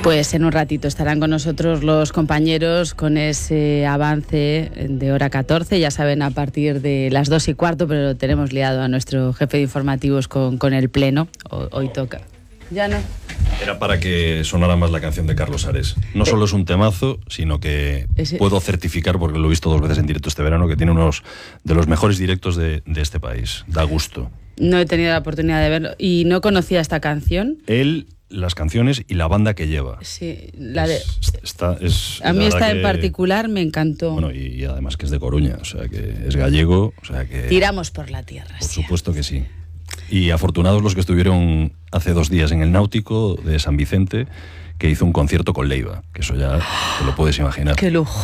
Pues en un ratito estarán con nosotros los compañeros con ese avance de hora 14. Ya saben, a partir de las 2:15, pero lo tenemos liado a nuestro jefe de informativos con el pleno. Hoy toca. Ya no. Era para que sonara más la canción de Carlos Ares. No solo es un temazo, sino que puedo certificar, porque lo he visto 2 veces en directo este verano, que tiene unos de los mejores directos de este país. Da gusto. No he tenido la oportunidad de verlo y no conocía esta canción. Él, las canciones y la banda que lleva. Sí, a mí esta en particular me encantó. Bueno, y además que es de Coruña, o sea que es gallego, o sea que... Tiramos por la tierra. Por supuesto que sí. Y afortunados los que estuvieron hace 2 días en el Náutico de San Vicente, que hizo un concierto con Leiva, que eso ya te lo puedes imaginar. ¡Qué lujo!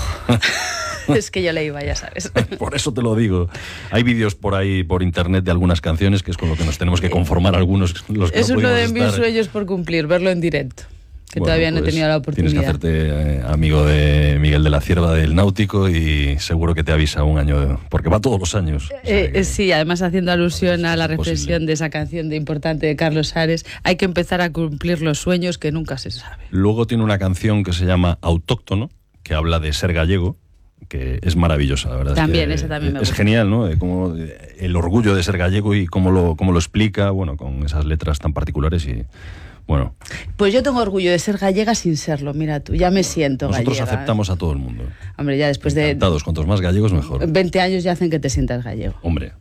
Es que yo Leiva, ya sabes. Por eso te lo digo. Hay vídeos por ahí, por internet, de algunas canciones, que es con lo que nos tenemos que conformar algunos. Los que es no uno de mis sueños por cumplir, verlo en directo. Que todavía no he tenido la oportunidad. Tienes que hacerte amigo de Miguel de la Cierva del Náutico y seguro que te avisa un año, porque va todos los años. O sea sí, además haciendo alusión a la reflexión de esa canción de importante de Carlos Ares, hay que empezar a cumplir los sueños que nunca se sabe. Luego tiene una canción que se llama Autóctono, que habla de ser gallego, que es maravillosa, la verdad. También, esa también me gusta. Es genial, ¿no? Como el orgullo de ser gallego y cómo lo explica, bueno, con esas letras tan particulares y... Bueno. Pues yo tengo orgullo de ser gallega sin serlo, mira tú, ya me siento nosotros gallega. Nosotros aceptamos a todo el mundo. Hombre, ya después Encantados, cuantos más gallegos mejor. 20 años ya hacen que te sientas gallego. Hombre,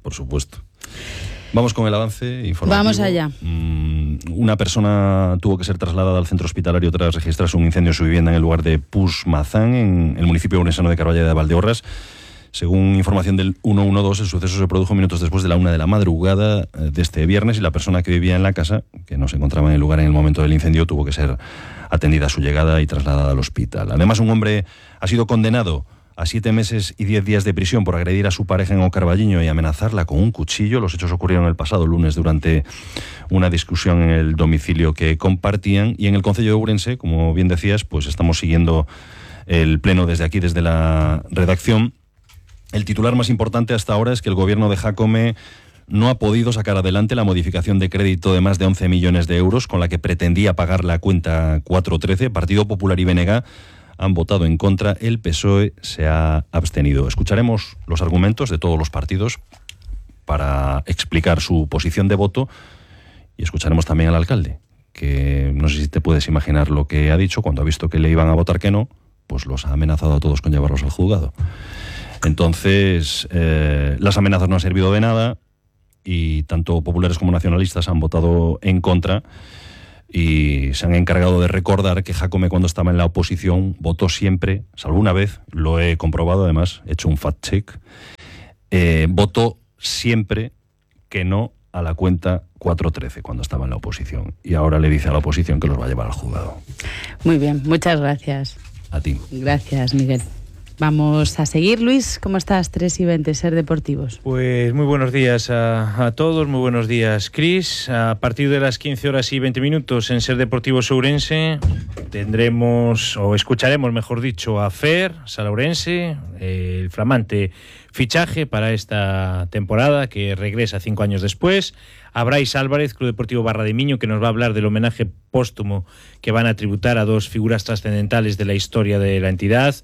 por supuesto. Vamos con el avance informativo. Vamos allá. Una persona tuvo que ser trasladada al centro hospitalario tras registrarse un incendio en su vivienda en el lugar de Pusmazán, en el municipio ourense de Carballeda de Valdeorras. Según información del 112, el suceso se produjo minutos después de la 1 de la madrugada de este viernes y la persona que vivía en la casa, que no se encontraba en el lugar en el momento del incendio, tuvo que ser atendida a su llegada y trasladada al hospital. Además, un hombre ha sido condenado a 7 meses y 10 días de prisión por agredir a su pareja en Ocarballiño y amenazarla con un cuchillo. Los hechos ocurrieron el pasado lunes durante una discusión en el domicilio que compartían. Y en el concello de Ourense, como bien decías, pues estamos siguiendo el pleno desde aquí, desde la redacción. El titular más importante hasta ahora es que el gobierno de Jácome no ha podido sacar adelante la modificación de crédito de más de 11 millones de euros con la que pretendía pagar la cuenta 413. Partido Popular y BNG han votado en contra, el PSOE se ha abstenido. Escucharemos los argumentos de todos los partidos para explicar su posición de voto y escucharemos también al alcalde, que no sé si te puedes imaginar lo que ha dicho cuando ha visto que le iban a votar que no, pues los ha amenazado a todos con llevarlos al juzgado. Entonces, las amenazas no han servido de nada y tanto populares como nacionalistas han votado en contra y se han encargado de recordar que Jácome, cuando estaba en la oposición, votó siempre, salvo una vez, lo he comprobado además, he hecho un fact check, votó siempre que no a la cuenta 413 cuando estaba en la oposición y ahora le dice a la oposición que los va a llevar al juzgado. Muy bien, muchas gracias. A ti. Gracias, Miguel. Vamos a seguir, Luis. ¿Cómo estás? 3:20, Ser Deportivos. Pues muy buenos días a todos, muy buenos días, Cris. A partir de las 15:20 en Ser Deportivos Ourense tendremos, o escucharemos, mejor dicho, a Fer Sala Ourense, el flamante fichaje para esta temporada que regresa 5 años después. A Brais Álvarez, Club Deportivo Barra de Miño, que nos va a hablar del homenaje póstumo que van a tributar a 2 figuras trascendentales de la historia de la entidad,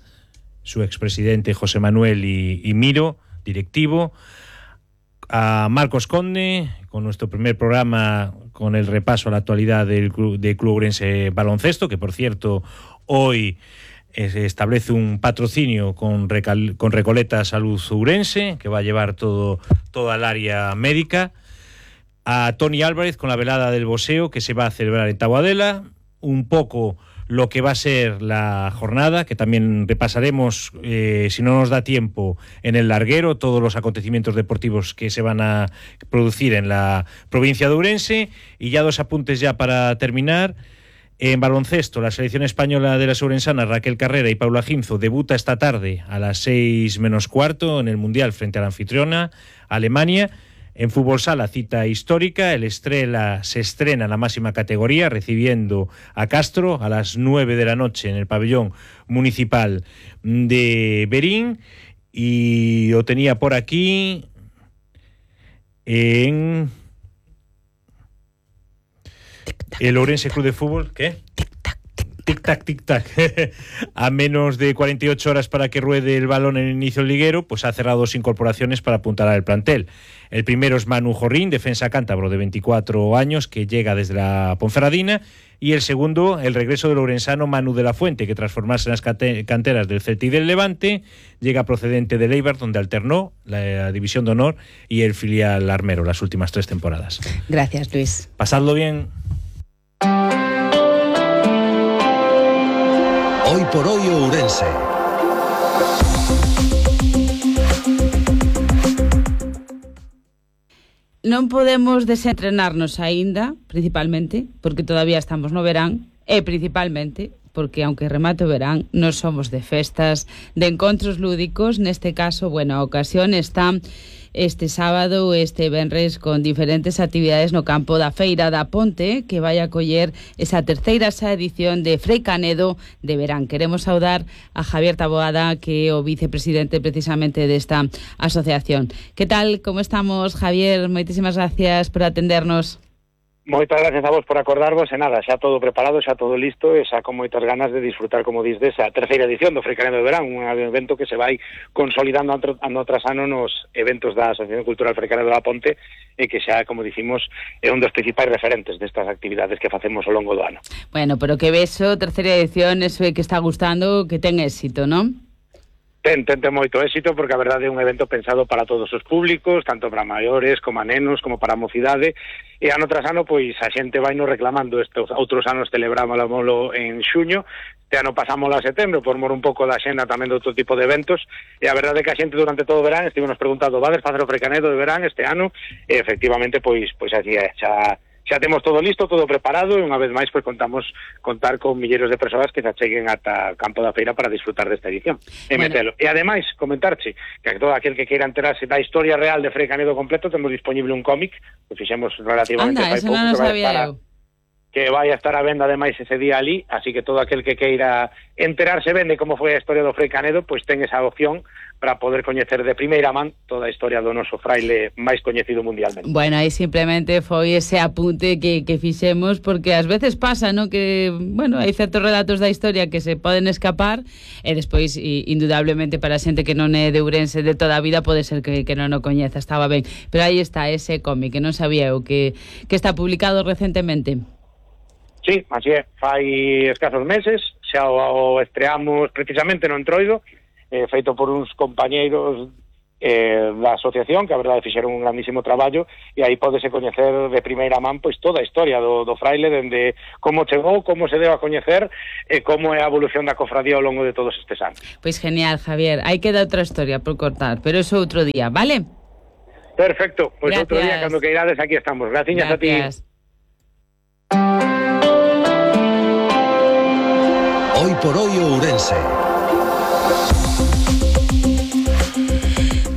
su expresidente José Manuel y Miro, directivo. A Marcos Conde, con nuestro primer programa con el repaso a la actualidad del Club Ourense Baloncesto, que por cierto hoy se establece un patrocinio con Recoleta Salud Ourense, que va a llevar toda el área médica. A Toni Álvarez con la velada del boxeo que se va a celebrar en Taboadela, un poco lo que va a ser la jornada, que también repasaremos, si no nos da tiempo, en el larguero, todos los acontecimientos deportivos que se van a producir en la provincia de Ourense. Y ya 2 apuntes ya para terminar. En baloncesto, la selección española de las ourensanas, Raquel Carrera y Paula Ginzo, debuta esta tarde a las 6:15 en el Mundial frente a la anfitriona, Alemania. En fútbol sala, cita histórica, el Estrela se estrena en la máxima categoría recibiendo a Castro a las 9 de la noche en el pabellón municipal de Berín. Y lo tenía por aquí El Ourense Club de Fútbol, ¿qué? Tic-tac, tic-tac. A menos de 48 horas para que ruede el balón en el inicio del liguero, pues ha cerrado 2 incorporaciones para apuntar al plantel. El primero es Manu Jorrín, defensa cántabro de 24 años, que llega desde la Ponferradina. Y el segundo, el regreso del ourensano Manu de la Fuente, que tras formarse en las canteras del Celta y del Levante, llega procedente del Eibar, donde alternó la División de Honor y el filial armero las últimas 3 temporadas. Gracias, Luis. Pasadlo bien. Hoy por hoy Ourense. Non podemos desentrenarnos aínda, principalmente, porque todavía estamos no verán, e principalmente porque, aunque remate o verán, non somos de festas, de encontros lúdicos. Neste caso, bueno, a ocasión está este sábado, este venres, con diferentes actividades no campo da Feira da Ponte, que vai a coller esa terceira edición de Frei Canedo de verán. Queremos saudar a Javier Taboada, que é o vicepresidente precisamente desta asociación. Que tal, como estamos, Javier? Moitísimas gracias por atendernos. Moitas gracias a vos por acordarvos, e nada, xa todo preparado, xa todo listo, e xa con moitas ganas de disfrutar, como dis, desa terceira edición do Frei Canedo de Verán, un evento que se vai consolidando ano tras ano nos eventos da Asociación Cultural Frei Canedo da Ponte, e que xa, como dicimos, é un dos principais referentes destas actividades que facemos ao longo do ano. Bueno, pero que beso, terceira edición, eso é que está gustando, que ten éxito, non? Ten moito éxito, porque a verdade é un evento pensado para todos os públicos, tanto para maiores, como a nenos, como para a mocidade, e ano tras ano, pois, a xente vai nos reclamando. Estes outros anos celebrámoslo en xuño, este ano pasámoslo a setembro, por mor un pouco da xenda tamén de outro tipo de eventos, e a verdade é que a xente durante todo o verán estivemos preguntando: vades facer o Frei Canedo de verán este ano? E efectivamente, pois así é, xa temos todo listo, todo preparado, e unha vez máis pois contar con milleiros de persoas que se acheguen ata o campo da feira para disfrutar desta edición e metelo. E ademais, comentarche que todo aquel que queira enterarse da historia real de Frei Canedo completo, temos disponible un cómic que fixemos relativamente fai pouco, no que vai a estar a venda ademais ese día ali, así que todo aquel que queira enterarse ben de como foi a historia do Frei Canedo, pois ten esa opción para poder coñecer de primeira man toda a historia do noso fraile máis coñecido mundialmente. Bueno, aí simplemente foi ese apunte que fixemos, porque ás veces pasa, ¿no?, que, bueno, hai certos relatos da historia que se poden escapar, e despois, indudablemente, para a xente que non é de Ourense de toda a vida, pode ser que non o coñeza, estaba ben. Pero aí está ese cómic, que non sabía eu, que está publicado recentemente. Sí, así é, fai escasos meses, xa o estreamos precisamente no Entroido, feito por uns compañeiros da asociación, que a verdade fixeron un grandísimo traballo, e aí podese coñecer de primeira man pois toda a historia do fraile, dende como chegou, como se deu a coñecer, e como é a evolución da cofradía ao longo de todos estes anos. Pois genial, Javier, hai que dar outra historia por cortar, pero eso outro día, vale? Perfecto, pois outro día, cando queirades, aquí estamos. Graciñas a ti. Hoy por hoy Ourense.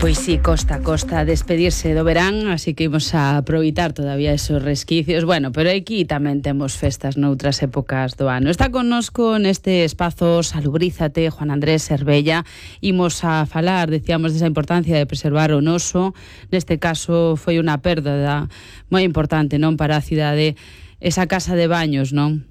Pois sí, costa despedirse do verán, así que imos a aproveitar todavía esos resquicios. Bueno, pero aquí tamén temos festas noutras épocas do ano. Está connosco neste espazo Salubrízate Juan Andrés Cervella. Imos a falar, decíamos, desa importancia de preservar o noso. Neste caso foi unha perda moi importante, non, para a cidade, esa casa de baños, non?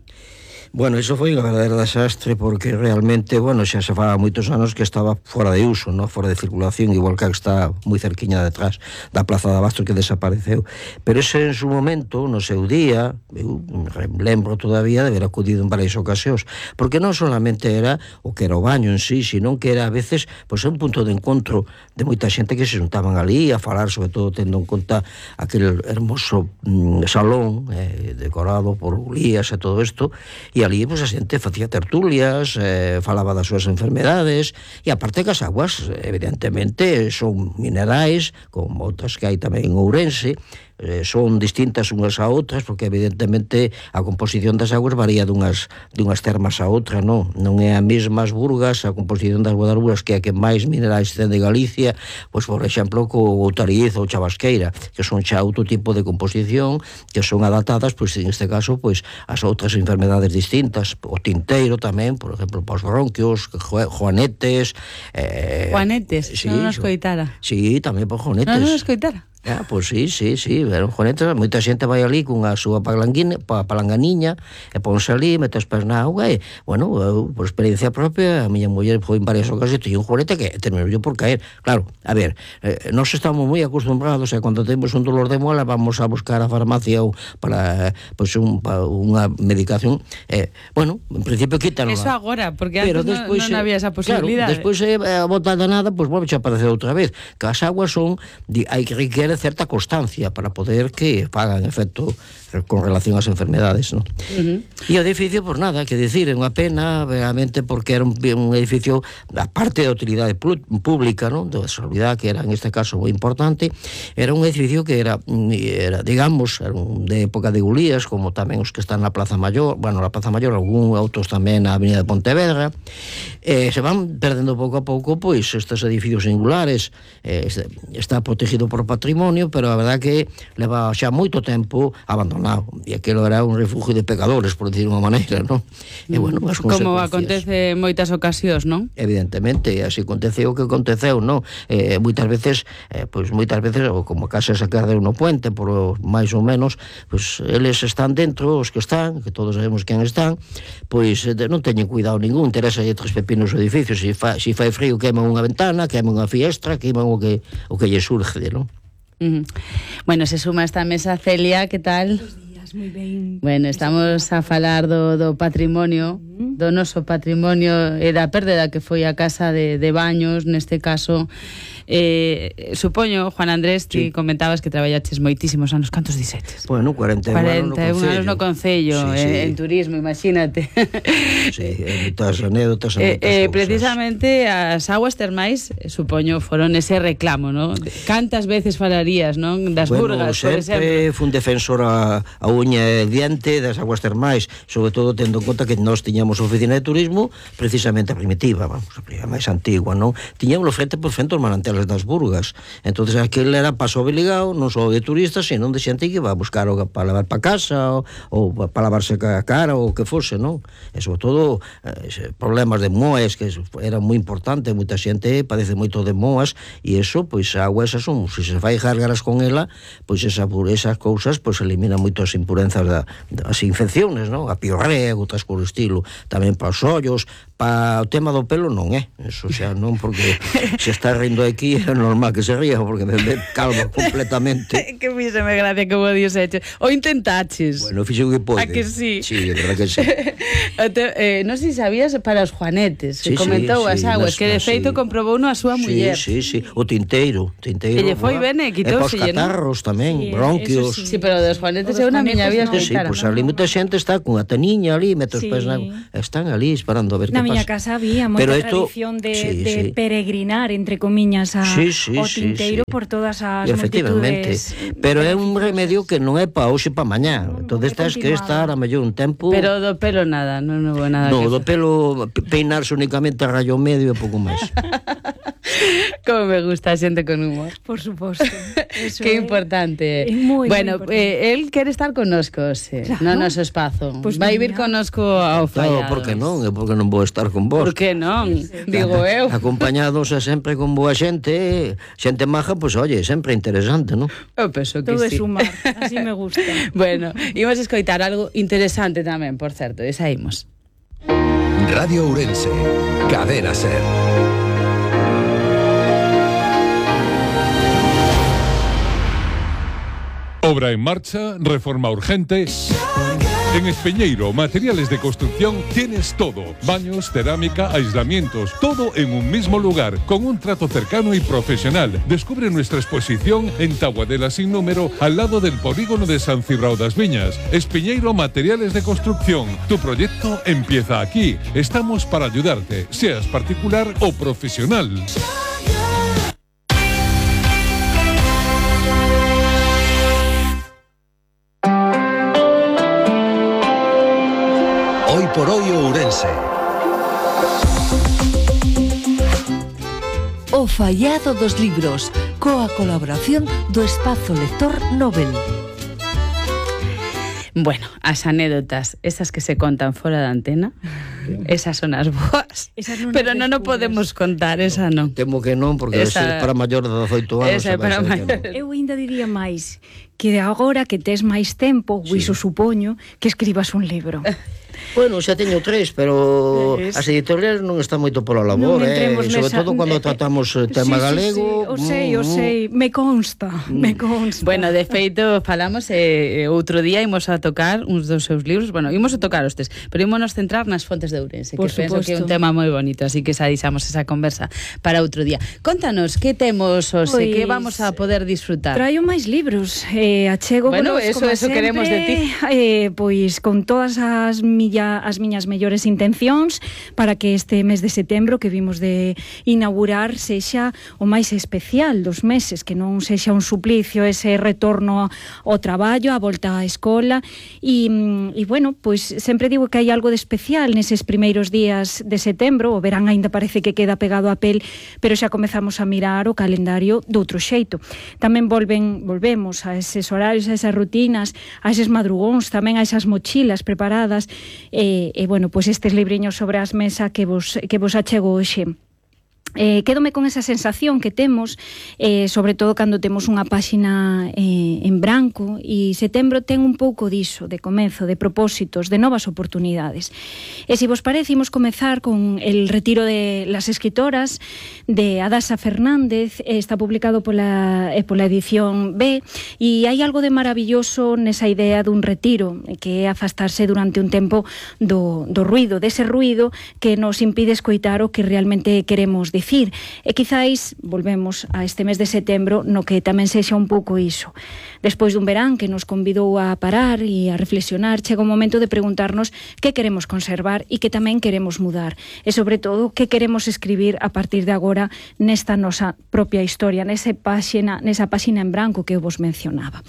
Bueno, iso foi unha verdadeira desastre, porque realmente, bueno, xa se fa moitos anos que estaba fora de uso, no? Fora de circulación, igual que está moi cerquiña detrás da Plaza de Abastos, que desapareceu. Pero ese en su momento, no seu día, eu lembro todavía de haber acudido en varias ocasións, porque non solamente era o que era o baño en sí, sino que era a veces pois, un punto de encontro de moita xente que se juntaban ali a falar, sobre todo tendo en conta aquel hermoso salón decorado por Ulías e todo isto, e ali pues, a xente facía tertulias, falaba das súas enfermedades, e aparte que as aguas evidentemente son minerais, como outras que hai tamén en Ourense, son distintas unhas a outras, porque evidentemente a composición das aguas varía dunhas termas a outra, non é a mesma as Burgas, a composición das Guadaluras, que é a que máis minerais ten de Galicia, pois por exemplo co Outariz ou Chabasqueira, que son xa outro tipo de composición, que son adaptadas, pois en este caso, pois as outras enfermedades distintas, o tinteiro tamén, por exemplo, os bronquios, joanetes. Joanetes, sí, non nos coitara. Sí, tamén por joanetes. Non nos coitara. Pois sí, eran joanetas, moita xente vai ali cunha súa palanganiña e ponse ali, mete os pés na auga e, bueno, por experiencia propia, a miña muller foi en varias ocasións e un joanete que terminou por caer. Claro, a ver, nós estamos moi acostumbrados e cando temos un dolor de mola vamos a buscar a farmacia ou para, pois, unha medicación, bueno, en principio quítanla. Eso agora, porque antes non había esa posibilidade. Claro, despois a botada nada, pois volve a aparecer outra vez, que as aguas hai que requiere certa constancia para poder que fagan efecto con relación ás enfermedades, non? E o edificio, por nada, que decir, é unha pena, realmente, porque era un edificio, aparte da utilidade pública, non? Da salubridade, que era, en este caso, moi importante, era un edificio que era digamos, de época de Gulías, como tamén os que están na Plaza Mayor, bueno, na Plaza Mayor, algún outros tamén na Avenida de Pontevedra, se van perdendo pouco a pouco, pois, estes edificios singulares, está protegido por patrimonio, pero a verdad que leva xa moito tempo abandonado, e aquilo era un refugio de pecadores, por decir unha maneira, non? E, bueno, as consecuencias, como acontece en moitas ocasións, non? Evidentemente, así aconteceu o que aconteceu, non? Moitas veces, ou como a casa esa que ardeu no puente, por máis ou menos, pois eles están dentro, os que están, que todos sabemos quen están, pois non teñen cuidado ningún, interesa aí tres pepinos o edificio, se fai frío queman unha ventana, queman unha fiestra, queman o que lle surge, non? Bueno, se suma esta mesa Celia, que tal? Buenos días, moi ben. Bueno, estamos a falar do patrimonio, do noso patrimonio e da pérdida que foi a casa de Baños, neste caso. Supoño, Juan Andrés, ti comentabas que traballaches moitísimos anos. Cantos dixetes? Bueno, 41 anos no Concello, en turismo, imagínate. Sí, moitas anécdotas. Precisamente as aguas termais, supoño, foron ese reclamo, non? Cantas veces falarías, non? Das Burgas, por exemplo. Sempre fun defensor a uña e diente das aguas termais, sobre todo tendo en conta que nós tiñamos oficina de turismo precisamente a primitiva, vamos, a máis antigua, non? Tiñámoslo frente por frente aos manantiales das Burgas. Entonces aquel era paso obligado, non só de turistas, sino de xente que iba a buscar para lavar para casa ou para lavarse a cara ou o que fose, non? E sobre todo problemas de moas, que era moi importante, moita xente padece moito de moas, e eso, pois a agua esas son, se se fai gargaras con ela, pois esas cousas pois elimina moitas impurenzas das infecciones, non? A piorrea, outras por estilo, tamén para os ollos, para o tema do pelo non é, eso xa non, porque se está rindo aquí é normal que se ría, porque me calma completamente. Que fíxeme gracia que vos dixeches. O intentaches. Bueno, fixo o que pode. A que sí? Sí, é verdad que sí. Non sei se sabías para os juanetes, que comentou as aguas, que de feito comprobou a súa muller. Sí, o tinteiro. Que lle foi ben e quitouselle, non? E catarros tamén, bronquios. Sí, pero dos juanetes é unha miña vida escoitara. Sí, pois ali moita xente está con a teniña ali, mete os pés na agua, están ali esperando a ver que pasa. Na miña casa había moita tradición de peregrinar, entre comiñas, o tinteiro por todas as multitudes. Pero é un remedio que non é para hoxe para mañá. Entonces tens que estar a mellor un tempo. Pero do pelo nada, non houve nada. No, do pelo peinarse únicamente a rayo medio e pouco máis. Como me gusta a xente con humor. Por suposto. Que importante. Bueno, él quere estar connosco, no noso espazo. Vai vir connosco ao Fallados. Claro, porque non? É porque non vou estar con vos. Por que non? Digo eu. Acompañados sempre con boa xente, xente maja, pois, oye, sempre interesante, non? Eu penso que todo sí. Todo é sumar, así me gusta. Bueno, imos escoitar algo interesante tamén, por certo, e saímos. Radio Ourense, Cadena Ser. Obra en marcha, reforma urgente. En Espeñeiro, materiales de construcción, tienes todo. Baños, cerámica, aislamientos, todo en un mismo lugar, con un trato cercano y profesional. Descubre nuestra exposición en Taboadela sin número, al lado del polígono de San Cibrao das Viñas. Espeñeiro, materiales de construcción. Tu proyecto empieza aquí. Estamos para ayudarte, seas particular o profesional. Hoy por hoy Ourense. O Fallado dos Libros, coa colaboración do Espazo Lector Nobel. Bueno, as anécdotas, esas que se contan fora da antena, esas son as boas, pero non o podemos contar, esa non. Temo que non, porque esa, para maior de 18 anos. Esa é para maior. Eu ainda diría máis, que agora que tes máis tempo, iso supoño, que escribas un libro. Bueno, xa teño 3, pero as editoriales non están moito pola labor, sobre todo cando tratamos o tema galego. O sei, me consta. Bueno, de feito, falamos outro día imos a tocar uns dos seus libros, bueno, imos a tocar os tres, pero imos centrar nas fontes de Ourense, que penso que é un tema moi bonito, así que xa deixamos esa conversa para outro día. Contanos, que temos hoxe, que vamos a poder disfrutar? Traio máis libros, achego, bueno, eso queremos de ti. Pois con todas as miñas mellores intencións para que este mes de setembro que vimos de inaugurar sexa o máis especial dos meses, que non sexa un suplicio ese retorno ao traballo, a volta á escola e bueno, pois sempre digo que hai algo de especial neses primeiros días de setembro. O verán aínda parece que queda pegado á pel, pero xa comezamos a mirar o calendario doutro xeito. Tamén volvemos a eses horarios, a esas rutinas, a eses madrugóns, tamén a esas mochilas preparadas. Bueno, pois estes libriños sobre as mesa que vos achego hoxe. Quédome con esa sensación que temos, sobre todo cando temos unha páxina en branco, e setembro ten un pouco diso, de comezo, de propósitos, de novas oportunidades. E se vos parece, imos comezar con el retiro de las escritoras de Adasa Fernández. Está publicado pola edición B, e hai algo de maravilloso nesa idea dun retiro, que é afastarse durante un tempo do ruido, dese ruido que nos impide escoitar o que realmente queremos dicir. E quizáis volvemos a este mes de setembro no que tamén sexa un pouco iso. Despois dun verán que nos convidou a parar e a reflexionar, chega un momento de preguntarnos que queremos conservar e que tamén queremos mudar. E sobre todo, que queremos escribir a partir de agora nesta nosa propia historia, nesa páxina en branco que eu vos mencionaba.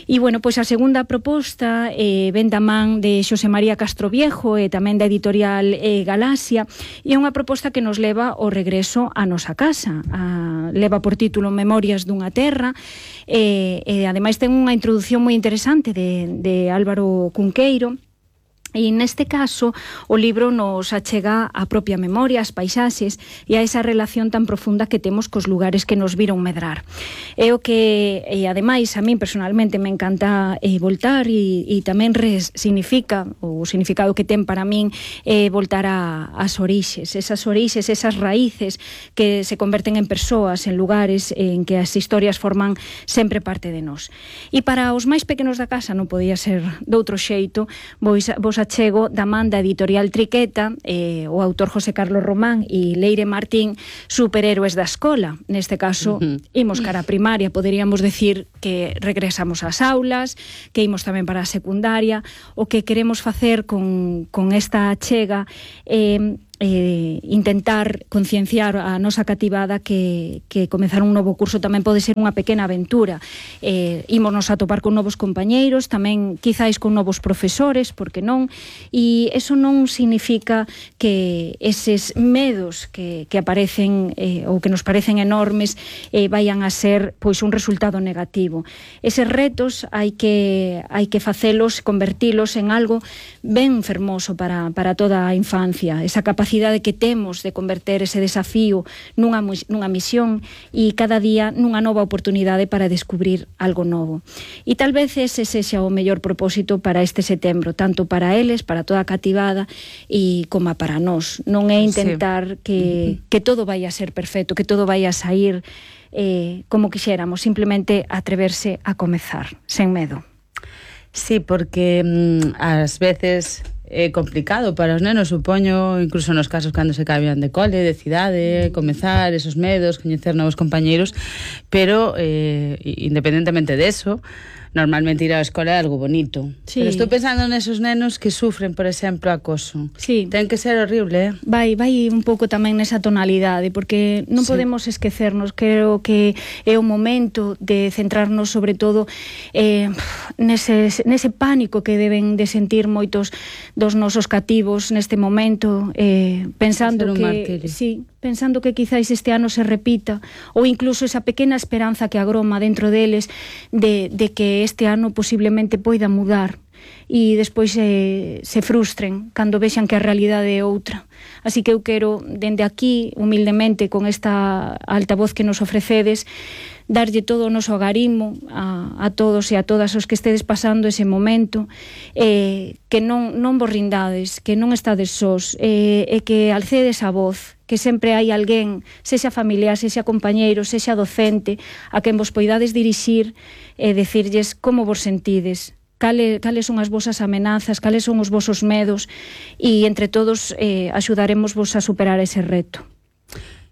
E, bueno, pois a segunda proposta ven da man de Xosé María Castroviejo e tamén da editorial Galaxia, e é unha proposta que nos leva ao regreso á nosa casa. Leva por título Memorias dunha terra, e ademais ten unha introdución moi interesante de Álvaro Cunqueiro. E neste caso o libro nos achega a propia memoria, as paisaxes e a esa relación tan profunda que temos cos lugares que nos viron medrar. É o que, ademais, a min personalmente me encanta voltar e tamén significa, o significado que ten para min voltar ás orixes, esas raíces que se converten en persoas, en lugares en que as historias forman sempre parte de nós. E para os máis pequenos da casa non podía ser doutro xeito, vos achego da man da editorial Triqueta, o autor José Carlos Román e Leire Martín, Superhéroes da escola. Neste caso, imos cara a primaria, poderíamos decir que regresamos ás aulas, que imos tamén para a secundaria. O que queremos facer con esta achega intentar concienciar a nosa cativada que comezar un novo curso tamén pode ser unha pequena aventura. Ímonos a topar con novos compañeiros, tamén quizáis con novos profesores, porque non? E eso non significa que eses medos que aparecen ou que nos parecen enormes vayan a ser pois un resultado negativo. Eses retos hai que facelos, convertilos en algo ben fermoso para toda a infancia, esa capacidade que temos de converter ese desafío nunha misión e cada día nunha nova oportunidade para descubrir algo novo. E tal vez ese sexa o mellor propósito para este setembro, tanto para eles, para toda a cativada e como para nós. Non é intentar que todo vai a ser perfecto, que todo vai a sair como quixéramos, simplemente atreverse a comezar, sen medo. Sí, porque ás veces é complicado para os nenos, supoño, incluso nos casos cando se cambian de cole, de cidade, comezar esos medos, coñecer novos compañeiros, pero independentemente de eso, normalmente ir á escola é algo bonito. Sí. Pero estou pensando nesos nenos que sufren, por exemplo, acoso. Sí. Ten que ser horrible, Vai un pouco tamén nesa tonalidade, porque non podemos esquecernos, creo que é o momento de centrarnos sobre todo nese pánico que deben de sentir moitos dos nosos cativos neste momento, pensando que quizáis este ano se repita, ou incluso esa pequena esperanza que agroma dentro deles de que este ano posiblemente poida mudar. e despois se frustren cando vexan que a realidade é outra. Así que eu quero, dende aquí, humildemente, con esta altavoz que nos ofrecedes, darlle todo o noso agarimo a todos e a todas os que estedes pasando ese momento, que non vos rindades, que non estades sós, e que alcedes a voz, que sempre hai alguén, sexa familiar, sexa compañeiro, sexa docente, a quen vos poidades dirixir e decirlles como vos sentides, cales son as vosas amenazas, cales son os vosos medos, e entre todos axudaremos vos a superar ese reto.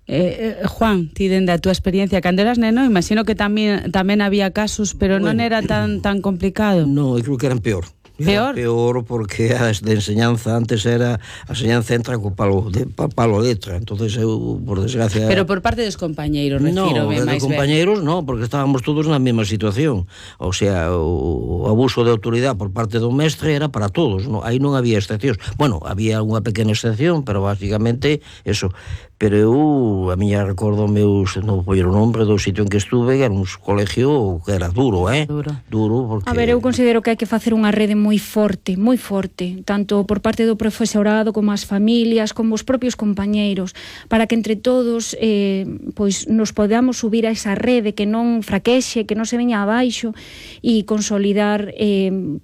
Juan, ti dende a túa experiencia cando eras neno, imagino que tamén había casos, pero non era tan complicado. Non, eu creo que eran peor. Peor porque as de enseñanza antes era a enseñanza entra co palo letra, entonces eu, por desgracia... Pero por parte dos compañeiros, refírome máis ben. Non, compañeiros non, porque estábamos todos na mesma situación. O sea, o abuso de autoridade por parte do mestre era para todos, non? Aí non había excepcións. Bueno, había unha pequena excepción, pero basicamente eso. Pero eu, a miña recordo meus, non vou o nombre do sitio en que estuve, que era un colegio que era duro, Duro, porque... A ver, eu considero que hai que facer unha rede moi forte, tanto por parte do profesorado, como as familias, como os propios compañeiros, para que entre todos pois nos podamos subir a esa rede, que non fraquexe, que non se veña abaixo, e consolidar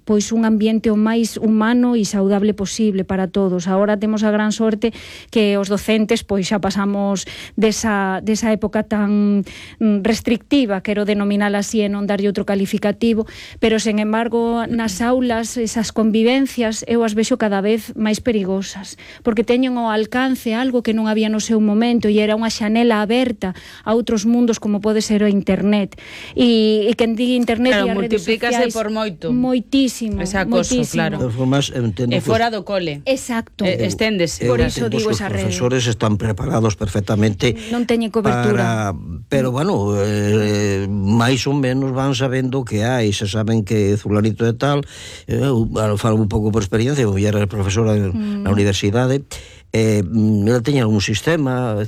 pois un ambiente o máis humano e saudable posible para todos. Agora temos a gran sorte que os docentes pois xa pasamos desa época tan restrictiva, quero denominala así e non darlle outro calificativo, pero sen embargo nas aulas esas convivencias eu as vexo cada vez máis perigosas, porque teñen ao alcance algo que non había no seu momento e era unha xanela aberta a outros mundos como pode ser o internet, e quen diga internet e as redes sociais por moito. Moitísimo. Ese acoso, claro. E fora do cole. Exacto. Esténdese. Por iso digo esa rede. Os profesores están preparados perfectamente, non teñen cobertura pero bueno, máis ou menos van sabendo que hai, se saben que fulanito e tal. Eu falo un pouco por experiencia, eu era profesora na universidade. Ela teña un sistema,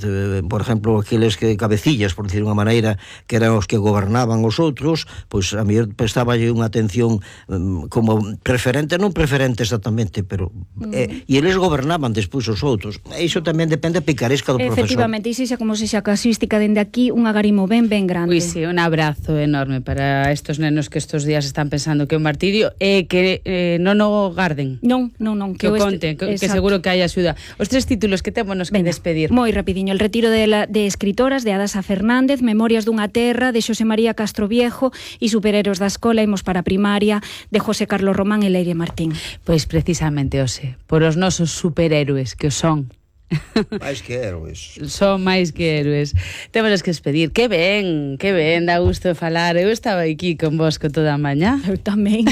por exemplo, aqueles que cabecillas, por decir unha maneira, que eran os que gobernaban os outros, pois a mí prestaballe unha atención como preferente, non preferente exactamente, pero e eles gobernaban despois os outros. Iso tamén depende da picaresca do profesor. Efectivamente, e xa como sexa casuística dende aquí, un agarimo ben grande. Pois sí, un abrazo enorme para estos nenos que estos días están pensando que é un martirio e que non o garden. Non, que o conten, que seguro que hai axuda. Os tres títulos que temos que despedir. Moi rapidiño, El retiro de escritoras de Adasa Fernández, Memorias dunha terra de Xosé María Castroviejo e Superhéroes da escola, imos para a primaria de José Carlos Román e Leire Martín. Pois precisamente, Ose, por os nosos superhéroes que o son. Máis que héroes. Son máis que héroes. Temos que despedir. Que ben, dá gusto falar. Eu estaba aquí con vos con toda a mañá. Eu tamén,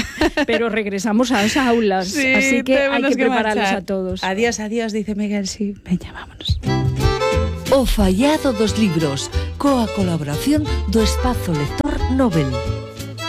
pero regresamos ás aulas, sí, así que hai que prepararlos a todos. Adiós, dice Miguel, sí. Veña, vámonos. O fallado dos libros, coa colaboración do Espazo Lector Nobel.